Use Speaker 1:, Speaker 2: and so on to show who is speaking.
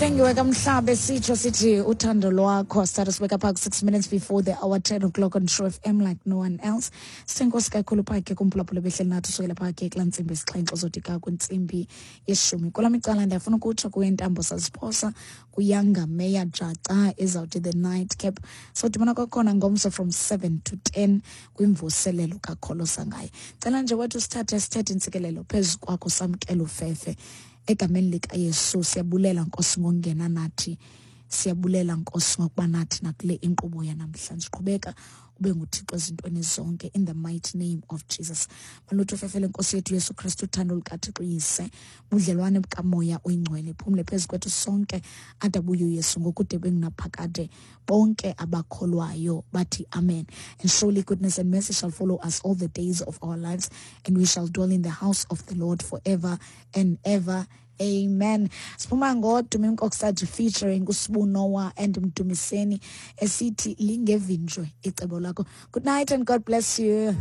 Speaker 1: Hlengiwe kamhlabe sitsho sithi uthando lwakho. Start us wake up 6 minutes before the hour, 10 o'clock on True FM like no one else. Sithenkosi kakhulu phakhe kumphulaphula behleli nathi usukela phakhe kulaa ntsimbi isixhenxe uzodika kwintsimbi yeshumi. Kula micala ndiyafuna ukutsho kuye ntambo saziphosa kuyanga Meya Jaca ezawuthi the night cap. Sodibana kwakhona ngomso from 7 to 10 kwimvuselelo kakholosa ngaye. Cela nje wethu sithathe sithethe intsikelelo phezu kwakho, samkela ufefe egameni likaYesu. Siyabulela Nkosi ngokungena nathi, siyabulela Nkosi ngokuba nathi nakule inkqubo yanamhlanje. Qhubeka ube nguThixo ezintweni zonke in the mighty name of Jesus. Malutho fefele Nkosi yethu Yesu Kristu, uthando lukaThixo Uyise, budlelwane bukaMoya oyiNgcwele phumle phezu kwethu sonke adabuye uYesu ngokude bengunaphakade. Bonke abakholwayo bathi amen. And surely goodness and mercy shall follow us all the days of our lives, and we shall dwell in the house of the Lord forever and ever. Amen. Siphuma ngoDumi Mkokstad featuring uSibu Noah and Mdumiseni esithi lingevinjwe icebo lakho. Good night and God bless you.